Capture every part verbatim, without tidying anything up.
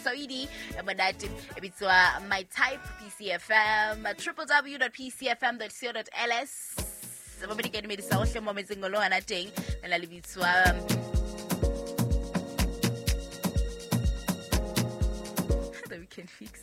Saidi monate e bitswa My Type P C F M w w w dot p c f m dot co dot l s. Ba di ka dumedisa hohle mo metseng lo ana teng la le bitswa The Weekend Fix.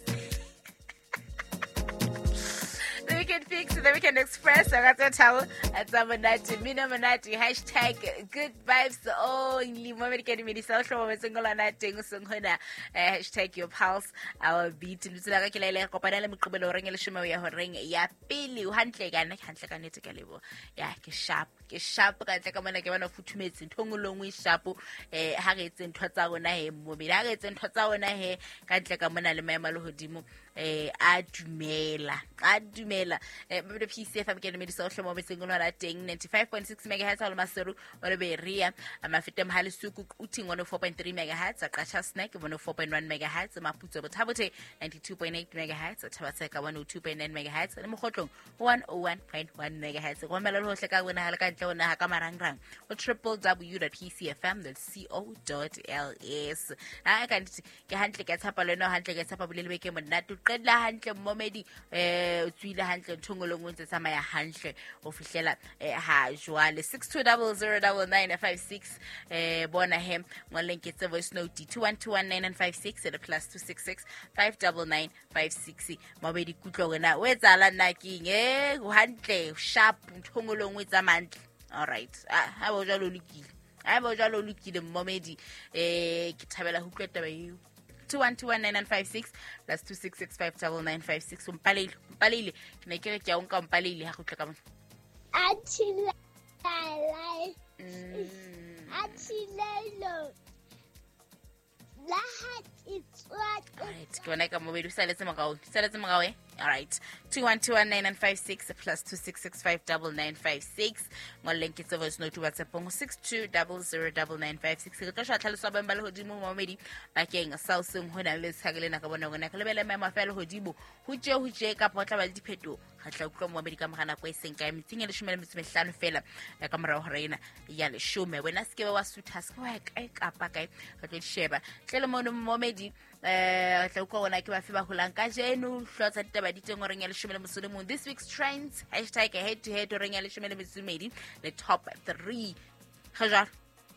The Weekend Fix, The Weekend Express. I got tell at monate mina monate hashtag good vibes only. Mo me di ka dumedisa hohle mo metseng lo ana teng seng hona hashtag your pulse our beat. Letsela ka ke la ile kopana le moqobelo horeng e leshome ya horeng ya pele o hantle ka nna ke hantle ka nete ka lebo ya ke sharp ke sharp ka ntle ka mona ke bona futhumetse ntho nngwe le nngwe sharp eh ha re etse ntho tsa rona he mmobedi ha re etse ntho tsa rona he ka ntle ka mona le maemo a lehodimo eh a dumela a dumela eh P C F M ke dumedisa hohle mo metseng lona teng ninety-five point six megahertz ha le Maseru wa Beria Mafete Mhalisuku Quthing one oh four point three megahertz Qacha Snack one oh four point one megahertz Maputso Bothabothe ninety-two point eight megahertz Thabatseka one oh two point nine megahertz le Mokgotlong one oh one point one megahertz go romela le hohle ka wena ha le ka ntle ona ha ka marangrang o w w w dot p c f m dot co dot l s. Ha ka ntse ke hantle ke tshapa le no hantle ke tshapa bolele beke monate o qedla hantle mmomedi eh o tswile hantle ntho nngwe le nngwe ntse tsamaya hantle o fihlela ha jwale six two zero zero nine nine five six eh bona he ngoleng ke tse voice note two one two one nine nine five six le plus two six six five nine nine five six mabedi kutlo wena o etsala nna keng eh hantle sharp ntho nngwe le nngwe tsamaya hantle. All right ah ha bo jwalo lokile ha bo jwalo lokile mmomedi eh ke thabela ho utlwa taba eo two one two one nine nine five six plus two six six five nine nine five six. Mpaleile mpaleile ke ne ke re ke a nka mpaleile ha go tla ka mona a thila a thilelo la ha All right, ke bona ka mobedi o saletse morao saletse morao eh. All right, two one two one nine nine five six plus two six six five nine nine five six ngoleng ke tse voice note WhatsApp go six two zero zero nine nine five six. Re tlo shwa tlhaloso ba ba lehodimo momedi bakeng sa o seng hona le tshake lena ka bona gona ke lebele maemo a fa lehodimo ho tje ho tje ka potla ba le dipheto ga tla utlwa momedi ka mogana kwa seng kae metsing e leshome le metso mehlano fela ka morao hore ena ya leshome wena se ke ba wa sutha se wa kae kapa kae re tlo sheba tle le mono momedi eh tla utlwa gona ke ba fe ba holang ka jeno hlotsa ditaba di teng horeng ya leshome le metso le mong. This week's trends hashtag head to head horeng ya leshome le metso medi le top three ga jwalo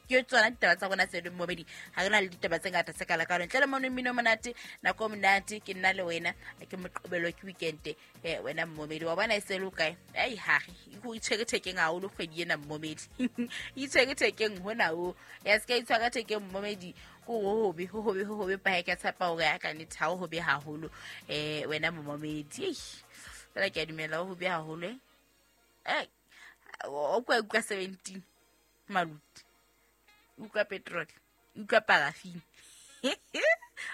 ke tsona ditaba tsa rona tse momedi ha re na le ditaba tse ngata tse kala ka ntle le mono mmino monate nako monate ke nna le wena ke moqobelo ke weekend eh wena momedi wa bona e se lo kae ai ha re go itshwere thekeng haholo kgwedi ena momedi itshwere thekeng hona o ya se ka itshwara thekeng momedi go hobe ho hobe ho hobe pa ka tshepa hore ya ka ne thao hobe haholo eh wena momedi fela ke a dumela ho hobe haholo eh o kwa kwa seventeen maluti utlwa petrol utlwa paraffin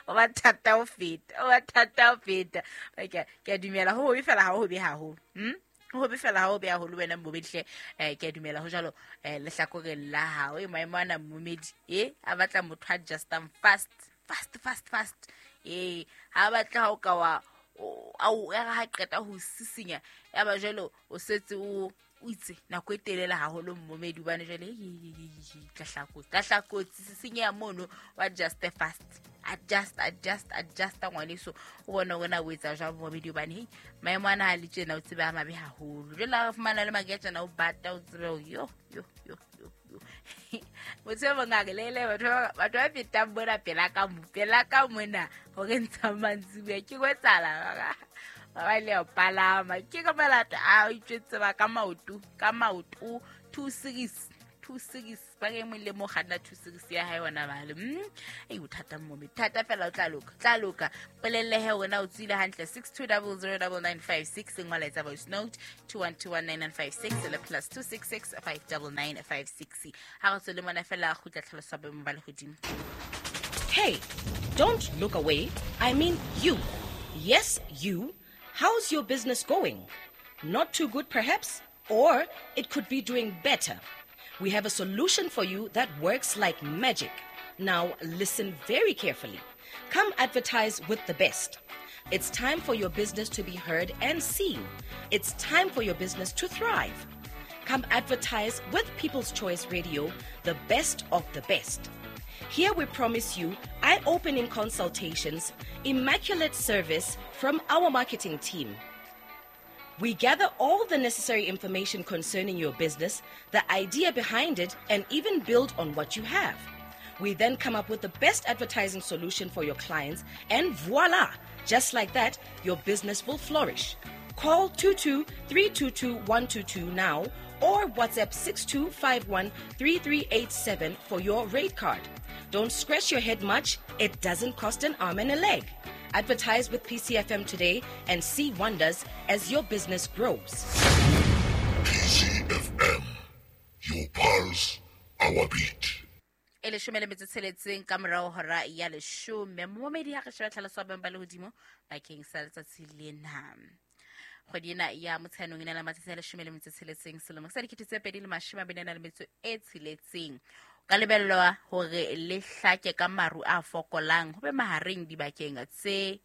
o ba thata ho feta o ba thata ho feta ke ke a dumela ho hobe fela ha ho hobe haholo hm ho hobe fela ha ho be haholo wena mmomedi hle eh ke a dumela ho jwalo eh lehlakoreng la hao e maemo ana mmomedi eh a batla motho a adjustang fast fast fast fast eh ha batla ha o ka wa au ya ha qeta ho sisinya ya ba jwalo o setse o o itse nako e telele haholo mmomedi bane jwale tla tla kotsi sisinya mono wa adjust fast adjust adjust adjust ngwaneso o bona wena o etsa jwang mmomedi bane hey maemo ana ha le tjena o tsebe a mabe haholo jwale ha fumana le maketjana o bata o tsebe yo yo yo yo motho mongaka lele batho batho ba fetang bona pela ka mo pela ka mona hore ntsha mantsibuya ke kwetsala ba ba le palama ke ka malata a itjwetse ba ka maoto ka maoto two six two six ba ke mo le mo kganna two six ya hae ona ba le mm ei o thata mme thata fela o tla loka tla loka polelle he wena o tswile hantle six two zero zero nine nine five six ngwala etsa voice note two one two one nine nine five six le plus two six six five nine nine five six ha re tswele mona fela kgutla tlhaloso ba ba le hodimo. Hey, don't look away. I mean you. Yes, you. How's your business going? Not too good perhaps, or it could be doing better. We have a solution for you that works like magic. Now listen very carefully. Come advertise with the best. It's time for your business to be heard and seen. It's time for your business to thrive. Come advertise with People's Choice Radio, the best of the best. Here we promise you eye-opening consultations, immaculate service from our marketing team. We gather all the necessary information concerning your business, the idea behind it, and even build on what you have. We then come up with the best advertising solution for your clients, and voila! Just like that, your business will flourish. Call two two three two two one two two now or WhatsApp six two five one three three eight seven for your rate card. Don't scratch your head much, it doesn't cost an arm and a leg. Advertise with P C F M today and see wonders as your business grows. P C F M, your pulse, our beat. E leshome le metso tsheletseng ka morao hora ya leshome. Momedi ha re sheba tlhaloso ya boemo ba lehodimo bakeng sa letsatsi lena. Kgwedi ena ya Motsheanong e na le matsatsi a leshome le metso tsheletseng selemo sa dikete tse pedi le mashome a mabedi a nang le metso e tsheletseng. Ka lebellwa hore le hlake ka maru a fokolang ho be mahareng dibakeng tse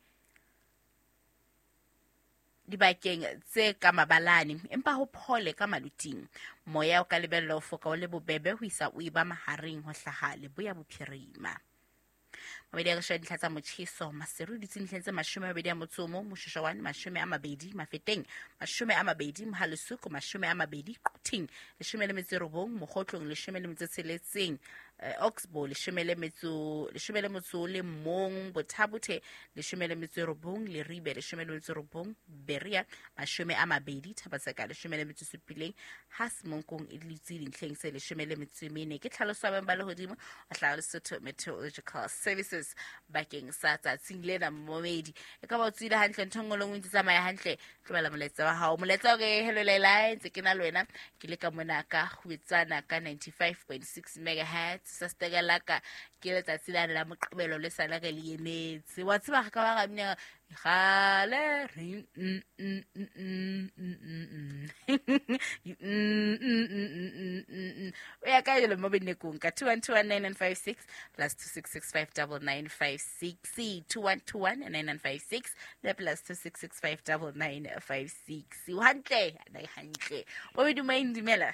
dibakeng tse ka mabalane empa ho phole ka maluting. Moya o ka lebellwa ho foka o le bobebe ho isa o eba mahareng ho hlaha leboya bophirima. Mabedi a re sheba dintlha tsa motjheso, Maseru di dintlheng tse mashome a mabedi a motso o mong, Moshoeshoe mashome a mabedi, Mafeteng mashome a mabedi, Mohalesuku mashome a mabedi, Quthing leshome le metso e robong, Mokgotlong leshome le metso e tsheletseng, Oxbow leshome le metso leshome le motso o le mong, Bothabothe leshome le metso e robong, Leribe leshome le metso e robong, Berea mashome a mabedi, Thabatseka leshome le metso e supileng, ha Semonkong e dutse dintlheng tse leshome le metso e mene. Ke tlhaloso ya boemo ba lehodimo ho hlaha Lesotho Meteorological Services bakeng sa tsatsing lena. Momedi e ka ba o tswile hantle, ntho nngwe le nngwe e ntse tsamaya hantle, tlobela molaetsa wa hao. Molaetsa o re hello Leila, ntse ke na le wena, ke le ka mona ka Kgwetsana ka ninety-five point six megahertz sa stegelaka ke letsatsi lane la Moqebelo le sala re le emetse. Wa tseba re ka ba ra mmina gale re mm mm mm mm mm mm mm mm o ya ka le mo benekong ka two one two one nine nine five six plus two six six five nine nine five six two one two one nine nine five six le plus two six six five nine nine five six. O hantle, na hantle. O be dumela dumela.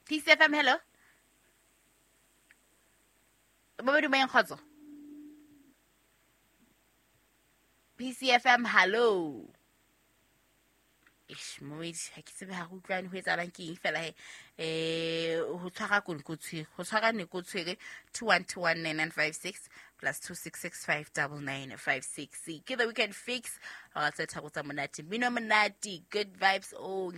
P C F M, hello. Ba dumela kgotso. P C F M, hello. Eish, momedi, ha ke tsebe ha re utlwane ho etsahalang ke eng fela he. Eh, ho tshwara kone ko tshwere, ho tshwara ne ko tshwere two one two one nine nine five six plus two six six five nine nine five six. Ke the weekend fix. Hora tse tharo tsa monate. Mmino monate, good vibes only.